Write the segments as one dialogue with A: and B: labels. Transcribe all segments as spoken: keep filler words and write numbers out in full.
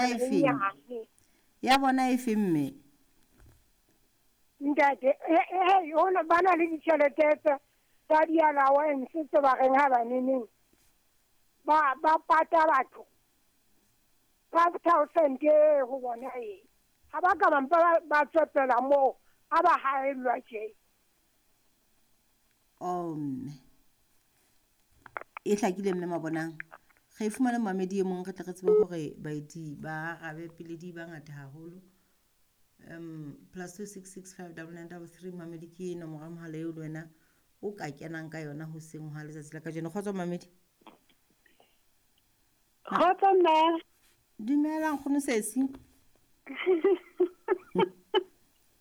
A: E
B: E
A: feng?
B: nyane.
A: Ya bona e feng mme?
B: Ntate, e e ba na le ditjhelete tsa tsa di-allowance tse ba reng ha ba neneng ba ba pata batho five thousand e ho bona e ha ba ka ba mpa ba- ba tswepela moo ha ba haellwa tje.
A: Oh mme. E hlakile mme Mabonang. Re fumane momamedi e mong re tle re tsebe hore baeti ba arabe pele di ba ngata haholo. Um plus two six six five double nine double three mamedi ke nomoro ya mohala eo le wena o ka kenang ka yona hoseng hwa letsatsi la kajeno. Kgotso mamedi.
C: Kgotso mme.
A: Dumela nkgono sesi.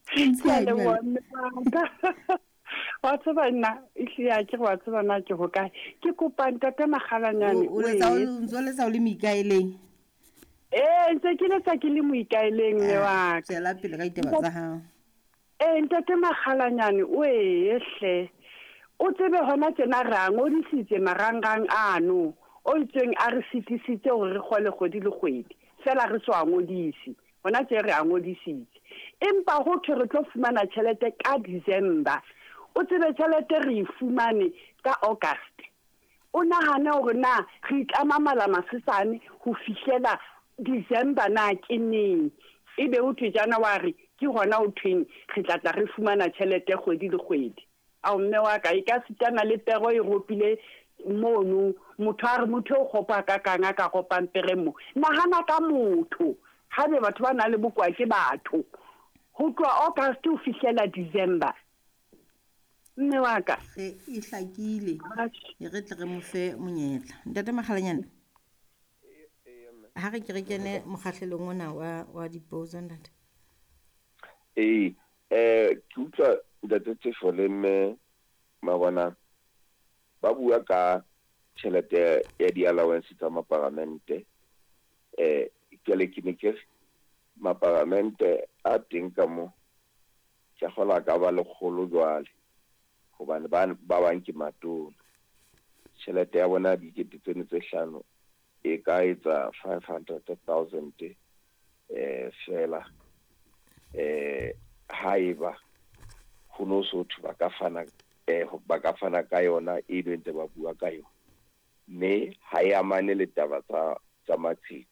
C: Ke a leboha mme wa ka. Wa tseba nna ehlile ha ke re wa tseba na ke hokae. Ke kopa ntate Makgalanyane
A: O letsa o ntso letsa o le moikaeleng.
C: Ee, ntse ke letsa ke le moikaeleng mme wa ka.
A: Tswela pele ka ditaba tsa hao.
C: Ee, ntate Makgalanyane o ee hle. O tsebe hona tjena re a ngodisitse marangrang ano o itsweng a re sitisitse hore re kgole kgwedi le kgwedi. Feela re so a ngodise. Hona tje re a ngodisitse. Empa ho thwe re tlo fumana tjhelete ka December. O tsebe tjhelete re e fumane ka August. O nahane hore na re itlama mala masesane ho fihlela December na ke neng. Ebe ho thwe January ke hona ho thweng re tla tla re fumana tjhelete kgwedi le kgwedi. Ao mme wa ka e ka sitana le pero e ropile mono motho a re motho o kgopo a ka kang a ka ropang pere mo. Nahana ka motho. Haebe batho ba nang le bokowa ke batho. Ho tloha August ho fihlela December. Mme wa ka.
A: Re e hlakile. E re tle re mo fe monyetla. Ntate Makgalanyane. Ha re ke re kene mokgahlelong ona wa wa dipotso ntate.
D: Ee, eh ke utlwa ntate Tefo le mme Mabonang ba bua ka tjhelete ya di-allowance tsa maparamente. Eh jwale ke ne ke re maparamente a teng ka mo ke a kgolwa a ka ba lekgolo jwale hobane ba ba bang ke matona. Tjhelete ya bona dikete tseno tse hlano e ka etsa five hundred thousand eh fela eh haeba ho no so thwe ba ka fana eh ba ka fana ka yona e be ntse ba bua ka yona mme ha e amane le taba tsa tsa maqheku.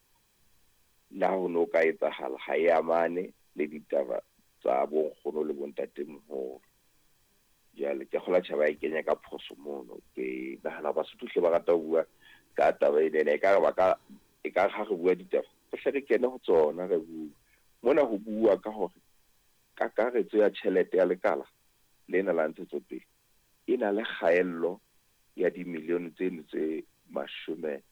D: Le ha ho no ka etsahala ha e amane le ditaba tsa bonkgono le bontatemoholo. Jwale ke kgolwa tjhe ba e kenya ka phoso mono. Ke nahana Basotho hle ba rata ho bua ka taba ena ekare ba ka ekare ha re bua ditaba re hle re kene ho tsona re bue. Mona ho bua ka hore kakaretso ya tjhelete ya lekala lena la ntshetsopele e na le kgaello ya dimilione tseno tse mashome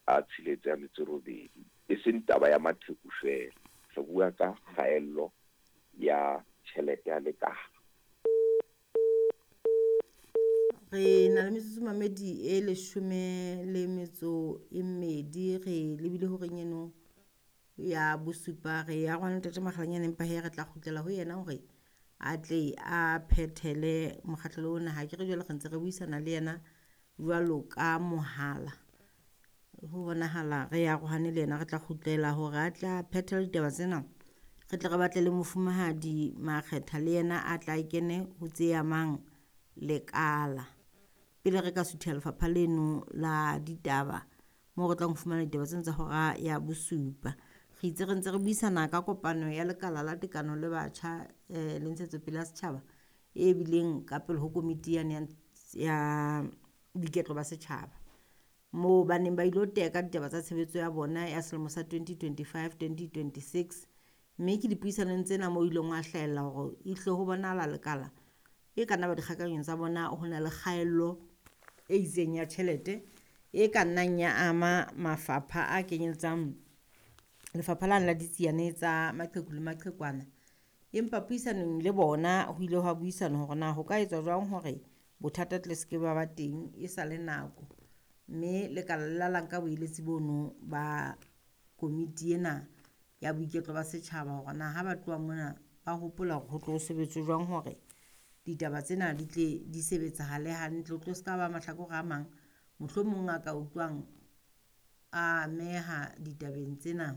D: a tsheletse a metso e robedi. E seng taba ya maqheku feela. Re bua ka kgaello ya tjhelete ya lekala.
A: Re na le metsotso mamedi e leshome le metso e mmedi re lebile horeng eno ya bosupa re ya rwana ntate Makgalanyane empa hee re tla kgutlela ho yena hore a tle a phethele mokgahlelo ona. Ha ke re jwale re ntse re buisana le yena jwalo ka mohala. Ho bonahala re arohane le yena re tla kgutlela hore a tla phethele ditaba tsena. Re tle re batle le mofumahadi Makgetha le yena a tla kene ho tse amang lekala. Pele re ka suthela lefapha leno la ditaba moo re tlang ho fumana ditaba tsena tsa hora ya bosupa. Re itse re ntse re buisana ka kopano ya lekala la tekano le batjha eh le ntshetsopele ya setjhaba e bileng ka pele ho komiti yane ya boiketlo ba setjhaba. Moo ba neng ba ilo teka ditaba tsa tshebetso ya bona ya selemo sa twenty twenty-five twenty twenty-six. Mme ke dipuisanong tsena moo ileng wa hlahella hore ehlile ho bonahala lekala e ka nna ba dikgakanyong tsa bona ho na le kgaello e itseng ya tjhelete e ka nnang ya ama mafapha a kenyeletsang lefapha lane la ditsiane tsa maqheku le maqhekwana. Empa puisanong le bona ho ile hwa buisanwa hore na ho ka etswa jwang hore bothata tle se ke ba ba teng e sa le nako. Mme lekala la la nka boeletsi bono ba komiti ena ya boiketlo ba setjhaba hore na ha ba tloha mona ba hopola hore ho tlo sebetswe jwang hore ditaba tsena di tle di sebetsahale hantle. Ho tlo se ka ba mahlakore a mang mohlomong a ka utlwang a ameha ditabeng tsena.